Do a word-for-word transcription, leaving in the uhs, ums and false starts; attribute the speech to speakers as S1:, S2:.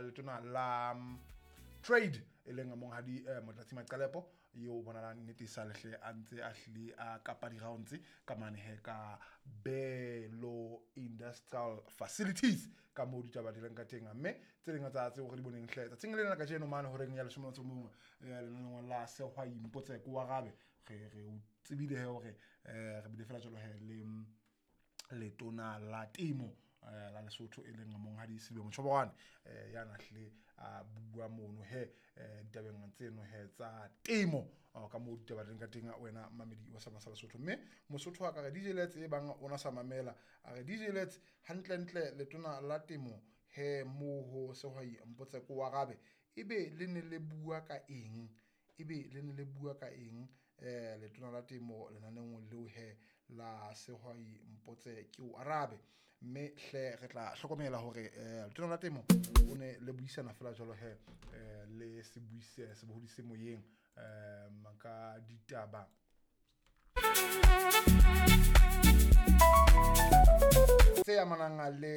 S1: letona la mm, trade, e leng monghadi eh, Motlatsi Maqalepo, eo o bonalang nnete sa lehle a ntse a hlile a kapa di-rounds ka mane he ka Belo Industrial Facilities, ka moo ditaba di leng ka teng. Mme tse ding tsa tseo re di boneng hle tsatsing lena la kajeno mane horeng ya leshome le motso o mong, eh, lenaneong la Sehwai Mpotse Ke o Arabe, re re o tsebile he hore eh, re bile fela jwalo he le mm, letona la temo eh, la Lesotho, e leng monghadi Selibe Mochoboroane, eh, ya na hlile a bua mono he eh, ditabeng tseno he tsa temo, oh, ka moo ditaba di leng ka teng, wena mamedi wa sama sa Lesotho. Mme Mosotho a ka re D J Lets e bang ona sa mamela, a re D J Lets, hantlentle letona la temo he moo ho Sehwai Mpotse Ke o Arabe, ebe le ne le bua ka eng? Ebe le ne le bua ka eng eh letona la temo lenaneong leo he la Sehwai Mpotse Ke o Arabe? Mme hle re tla hlokomela hore eh letona la temo o ne le buisana fela jwalo he eh le sebuise sebohodi se moyeng um ka ditaba tse amanang le